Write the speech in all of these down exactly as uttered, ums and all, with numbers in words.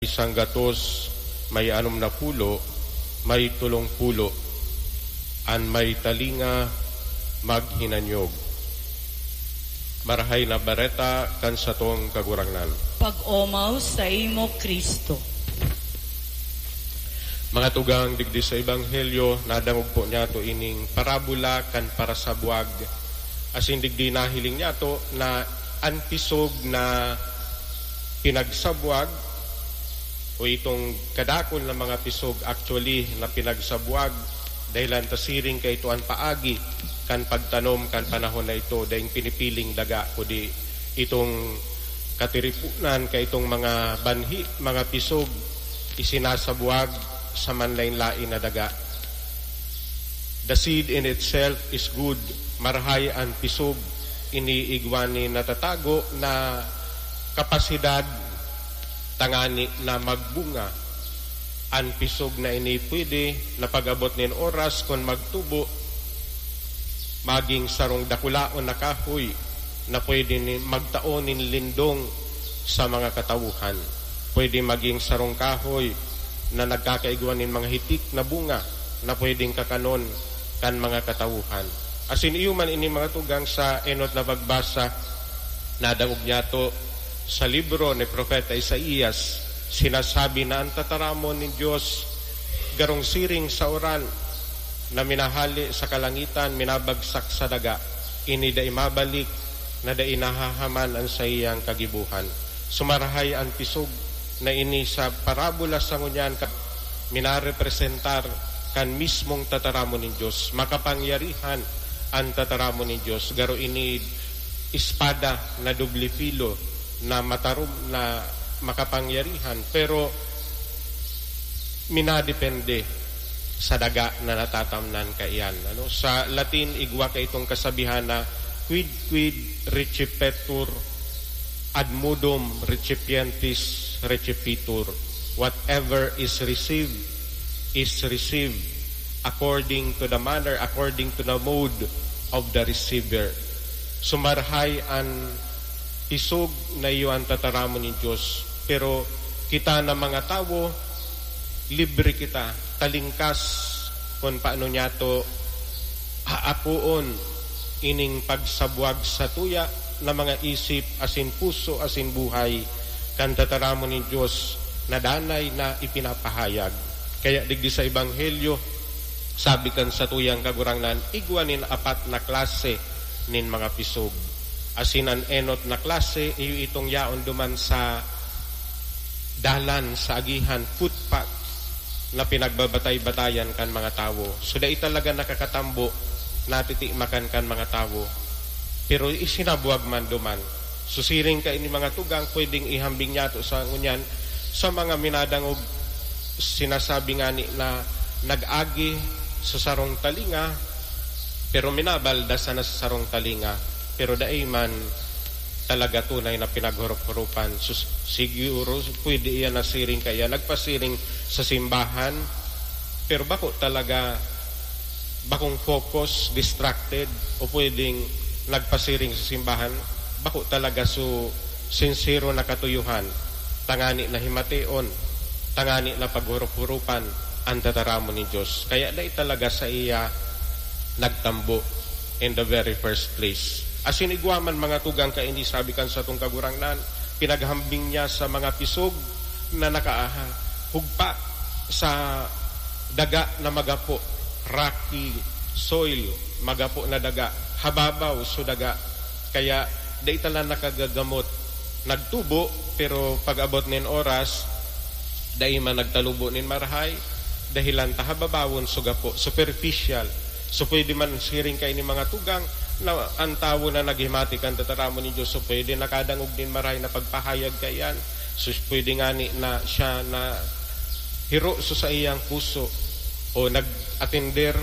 Sanggatos, may anom na pulo, may tolong pulo. An may talinga, maghinanyog. Marahay na Bareta kan satong Kagurangnan. Pag-omaw saimo, Cristo. Mga tugang, digdi sa Ebanghelyo, nadangog po niyato ining parabola kan parasabwag. Asin digdi nahiling niyato na an pisog na pinagsabwag, o itong kadakul na mga pisog actually na pinagsabwag, dahelan ta siring kaito an paagi kan pagtanom kan panahon na ito, daing pinipiling daga, kundi itong katiripunan kaitong mga banhi, mga pisog, isinasabwag sa manlaen-laen na daga. The seed in itself is good. Marahay an pisog, ini igwa nin natatago na kapasidad tangani na magbunga. An pisog na ini pwede na pag-abot nin oras kun magtubo, maging sarong dakulaon na kahoy na pwede ni, magtao nin lindong sa mga katawohan. Pwede maging sarong kahoy na nagkakaigwa nin mga hitik na bunga na pwedeng kakanon kan mga katawohan. Asin iyo man ini mga tugang sa enot na pagbasa, nadangog niyato sa libro ni Propeta Isaias, sinasabi na an tataramon nin Dios garong siring sa uran na minahale sa kalangitan, minabagsak sa daga. Ini dai mabalik, na dai nahahaman an saiyang kagibohan. Sumarahay an pisog na ini sa parabola sa ngunyan ka minarepresentar kan mismong tataramon nin Dios. Makapangyarihan an tataramon nin Dios. Garo ini espada na doble filo na matarom na makapangyarihan, pero minadepende sa daga na natatamnan kaiyan. Ano? Sa Latin, igwa kaitong kasabihan na quid quid recipetur, ad modum recipientis recepitur. Whatever is received, is received according to the manner, according to the mode of the receiver. Sumarahay an pisog na iyo an tataramon nin Dios, pero kita na mga tawo, libre kita, talingkas kun paano niyato haapoon ining pagsabwag sa tuya na mga isip asin puso asin buhay kan tataramon nin Dios na danay na ipinapahayag. Kaya digdi sa Ebanghelyo, sabi kan satuyang Kagurangnan, igwa nin apat na klase nin mga pisog. Asin an enot na klase, iyo itong yaon duman sa dalan, sa agihan, footpath, na pinagbabatay-batayan kan mga tawo. So, dai talaga nakakatambo, natitimakan kan mga tawo. Pero isinabwag man duman. So, siring kaini mga tugang, pwedeng ihambing niyato sa ngunyan, sa mga minadangog, sinasabi ngani na nag-agi sa sarong talinga, pero minabalda sana sa sarong talinga, pero dai man talaga tunay na pinaghurop-hurupan. Sus-, siguro pwede iyan na siring kaya nagpasiring sa simbahan, pero bako talaga, bakong focus, distracted, o pwedeng nagpasiring sa simbahan, bako talaga su sinsero na katuyuhan, tangani na himateon, tangani na paghurop-hurupan an tataramon nin Dios. Kaya dai talaga saiya nagtambo in the very first place. Asin igwa man mga tugang kaini, sabi kan satong Kagurangnan, pinaghambing niya sa mga pisog na nakahugpa sa daga na magapo, rocky soil, magapo na daga, hababaw so daga. Kaya dai ta lang nakagagamot. Nagtubo, pero pag-abot nin oras, dai man nagtalubo nin marahay, dahelan ta hababawon so gapo, superficial. So, pwede man siring kaini mga tugang na an tawo na naghimati kan tataramon nin Dios, so pwede nakadangog nin marahay na pagpahayag kaiyan. So, pwede ngani na siya na hiro sa saiyang puso o nag-atender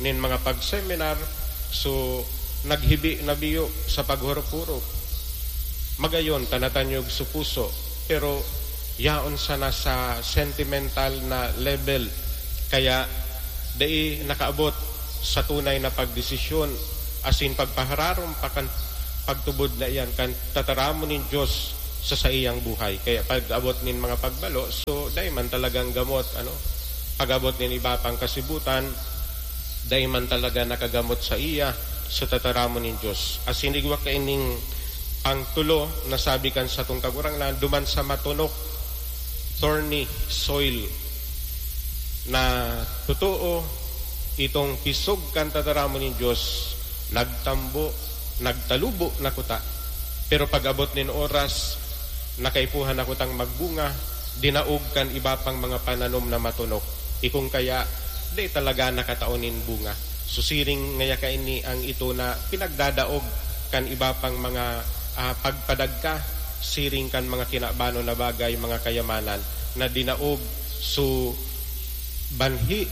nin mga pag-seminar, so naghibi na biyo sa paghurop-hurop. Magayon ta natanyog sa puso, pero yaon sana sa sentimental na level, kaya dai nakaabot sa tunay na pagdesisyon asin pagpahararom pa kan pagtubod na iyan kan tataramon nin Dios sa saiyang buhay. Kaya pag-abot nin mga pagbalo, so, dai man talagang gamot, ano? Pag-abot nin iba pang kasibutan, dai man talaga nakagamot sa iya, so, tataramon nin Dios. Asin igwa kaining pangtulo na sabi kan satong Kagurangnan, duman sa matunok, thorny soil, na totoo, itong pisog kan tataramon nin Dios, nagtambo, nagtalubo na kuta. Pero pag-abot nin oras, nakaipuhan na kutang magbunga, dinaog kan iba pang mga pananom na matunok. Ikong kaya, di talaga nakatao nin bunga. So, siring ngaya kaini ang ito na pinagdadaog kan iba pang mga, ah, pagpadagka, siring kan mga kinabanon na bagay, mga kayamanan na dinaog. So, banhi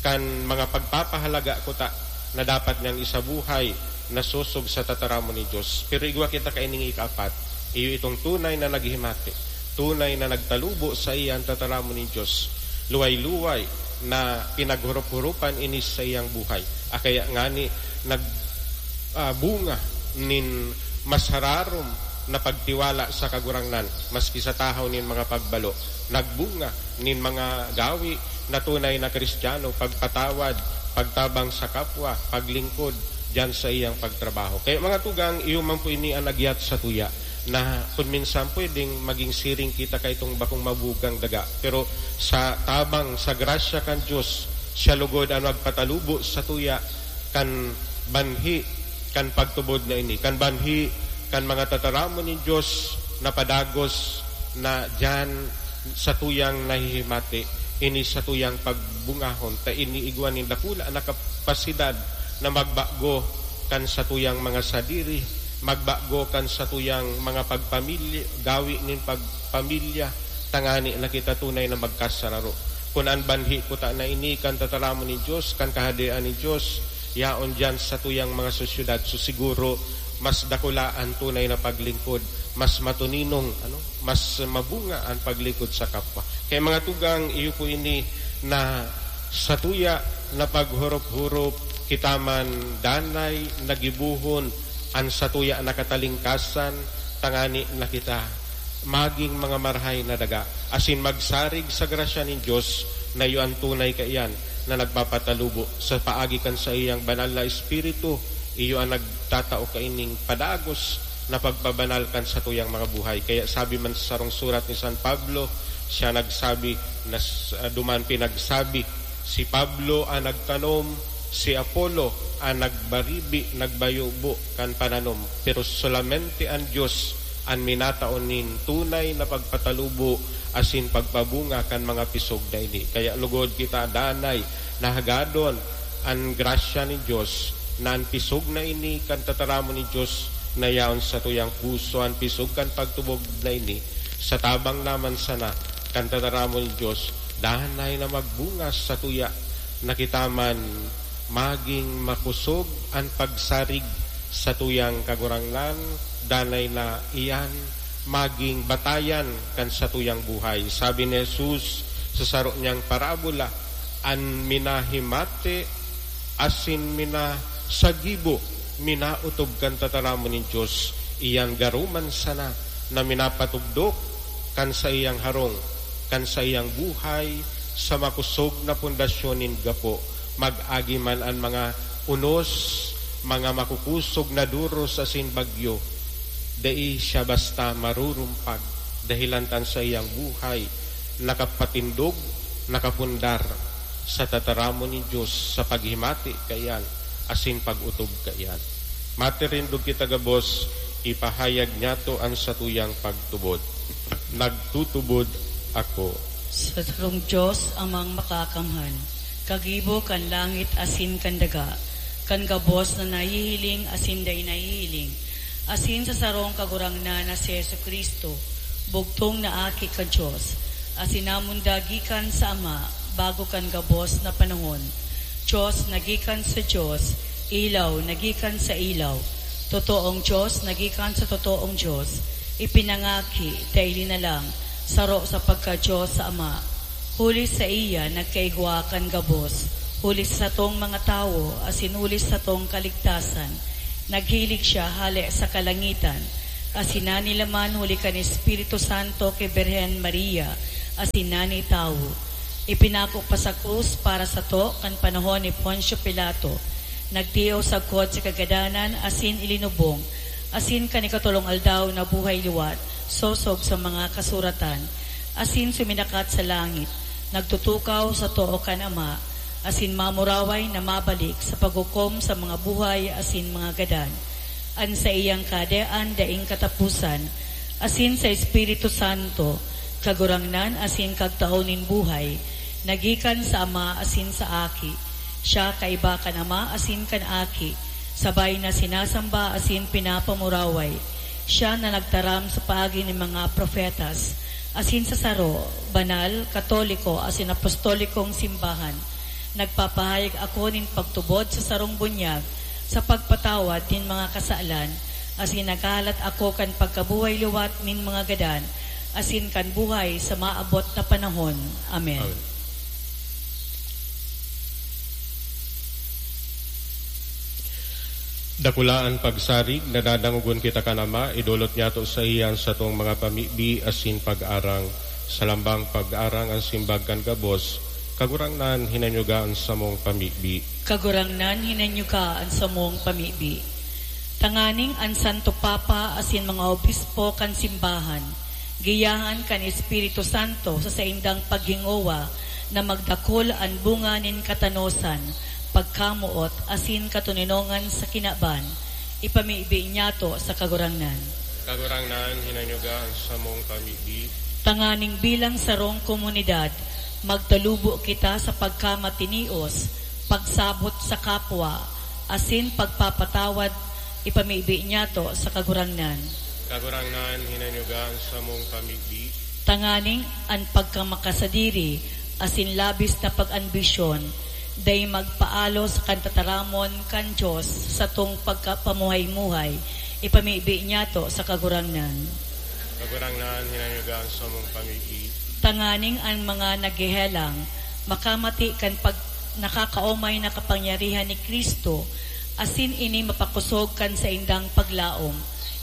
kan mga pagpapahalaga kuta na dapat niyang isabuhay, nasosog sa tataramon ni Dios. Pero igwa kita kaining ikaapat, iyo itong tunay na naghimati, tunay na nagtalubo sa iya an tataramon ni Dios. Luway-luway na pinaghurop-huropan ini sa iyang buhay. Akaya ngani nag, ah, bunga nin mas hararom na pagtiwala sa Kagurangnan, maski sa tahaw nin mga pagbalo. Nagbunga nin mga gawi na tunay na Kristiyano, pagpatawad, pagtabang sa kapwa, paglingkod diyan sa iyang pagtrabaho. Kaya, mga tugang, iyo man po ini an agyat sa tuya, na kun minsan pwedeng maging siring kita kaitong bakong mabugang daga. Pero sa tabang, sa grasya kan Dios, siya lugod an magpatalubo sa tuya kan banhi kan pagtubod na ini, kan banhi kan mga tataramon nin Dios na padagos na diyan satuyang nahihimati, ini satuyang pagbungahon, ta ini igwa nin dakula na kapasidad na magbago kan satuyang mga sadiri, magbago kan satuyang mga pagpamilya, gawi nin pagpamilya, tangani na kita tunay na magkasararo. Kun an banhi kuta na ini kan tataramon nin Dios, kan Kahadean nin Dios, yaon diyan satuyang mga sosyedad, so siguro mas dakula an tunay na paglingkod, mas matuninong, ano, mas mabunga an paglingkod sa kapwa. Kaya, mga tugang, iyo po ini na satuya na paghurop-hurop, kita man danay na gibohon an satuya na katalingkasan, tangani na kita magin mga marahay na daga, asin magsarig sa grasya nin Dios na iyo an tunay kaiyan na nagpapatalubo. Sa paagi kan saiyang banal na Espiritu, iyo an nagtatao kaining padagos na pagpabanal kan satuyang mga buhay. Kaya sabi man sa sarong surat ni San Pablo, siya nagsabi na s-, ah, duman pinagsabi, "Si Pablo an nagtanom, si Apollo an nagbaribi, nagbayubo kan pananom, pero solamente an Dios an minatao nin tunay na pagpatalubo asin pagpabunga kan mga pisog na ini." Kaya lugod kita danay na hagadon an grasya nin Dios, na an pisog na ini kan tataramon nin Dios na yaon satuyang puso, an pisog kan pagtubod na ini, sa tabang naman sana kan tataramon nin Dios, danay na magbunga satuya na kita man magin makosog an pagsarig satuyang Kagurangnan, danay na iyan magin batayan kan satuyang buhay. Sabi ni Jesus sa saro niyang parabola, "An minahimati asin minasagibo, minaotob kan tataramon nin Dios, iyan garo man sana na minapatugdok kan saiyang harong, kan saiyang buhay sa makosog na pundasyon nin gapo, mag-agi man an mga unos, mga makukosog na doros asin bagyo, dai siya basta marurumpag, dahelan ta an saiyang buhay nakapatindog, nakapundar sa tataramon nin Dios sa paghimati kaiyan asin pag-otob kaiyan." Matirindog kita gabos, ipahayag niyato an satuyang pagtubod. Nagtutubod ako. Sa sarong Dios, Amang Makakamhan, kagibo kan langit asin kan daga, kan gabos na nahihiling asin dai nahihiling, asin sa sarong Kagurangnan na si Jesu-Cristo, bugtong na Aki kan Dios, asin namundag gikan sa Ama bago kan gabos na panahon. Dios na gikan sa Dios, ilaw na gikan sa ilaw, totoong Dios na gikan sa totoong Dios, ipinangaki, dai linalang, saro sa pagka-Dios sa Ama. Huli saiya nagkaigwa kan gabos, huli sa satong mga tawo, asin huli sa satong kaligtasan. Naghilig siya hale sa kalangitan, asin nanilaman huli kan Espiritu Santo ki Birhen Maria, asin nanitawo. Ipinako pa sa krus para sato kan panahon ni Poncio Pilato. Nagtios sagkod sa kagadanan asin ilinubong, asin kan ikatolong aldaw nabuhay liwat, sosog sa mga kasuratan, asin suminakat sa langit, nagtutukaw sa too kan Ama, asin mamuraway na mabalik sa paghukom sa mga buhay asin mga gadan. An saiyang Kahadean daing kataposan, asin sa Espiritu Santo, Kagurangnan asin Kagtao nin buhay, na gikan sa Ama asin sa Aki. Siya kaiba kan Ama asin kan Aki, sabay na sinasamba asin pinapamuraway. Siya na nagtaram sa paagi nin mga propetas, asin sa saro, banal, katoliko, asin apostolikong simbahan. Nagpapahayag ako nin pagtubod sa sarong bunyag sa pagpatawad nin mga kasalan, asin naghahalat ako kan pagkabuhay liwat nin mga gadan, asin kan buhay sa maabot na panahon. Amen. Amen. Dakula an pagsarig na dadangogon kita kan Ama, idolot niyato saiya an satong mga pamibi asin pag-arang. Sa lambang pag-arang an simbag kan gabos, Kagurangnan, hinanyuga an samong pamibi. Kagurangnan, hinanyuga an samong pamibi. Tanganing an Santo Papa asin mga obispo kan simbahan, giyahan kan Espiritu Santo sa saindang paghingowa na magdakul an bunga nin katanosan, pagkamoot, asin katoninongan sa kinaban, ipamibi niyato sa Kagurangnan. Kagurangnan, hinanyuga an samong pamibi. Tanganing bilang sarong komunidad, magtalubo kita sa pagkamatinios, pagsabot sa kapwa, asin pagpapatawad, ipamibi niyato sa Kagurangnan. Kagurangnan, hinanyuga an samong pamibi. Tanganing an pagkamakasadiri asin labis na pag-ambisyon, dai magpaalos kan tataramon kan Dios satong pagkapamuhay-muhay, ipamibi niyato sa Kagurangnan. Kagurangnan, hinanyuga an samong pamibi. Tanganing an mga naghehelang makamati kan pag-, nakakaomay na kapangyarihan ni Cristo, asin ini mapakosog kan saindang paglaom,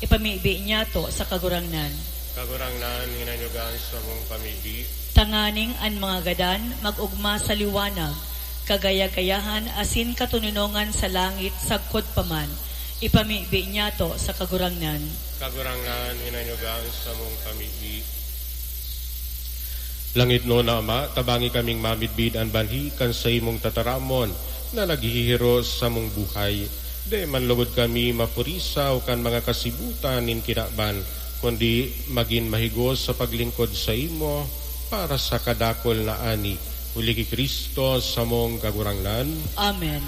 ipamibi niyato sa Kagurangnan. Kagurangnan, hinanyuga an samong pamibi. Tanganing an mga gadan mag-ogma sa liwanag, kagaya-gayahan asin katoninongan sa langit sagkod pa man, ipamibi niyato sa Kagurangnan. Kagurangnan, hinanyuga an samong pamibi. Langitnon na Ama, tabangi kaming mamidbid an banhi kan saimong tataramon na naghihiros samong buhay. Dai man logod kami mapurisaw kan mga kasibutan nin kinaban, kundi magin mahigos sa paglingkod saimo para sa kadakul na ani. Huli ki Cristo, samong Kagurangnan. Amen.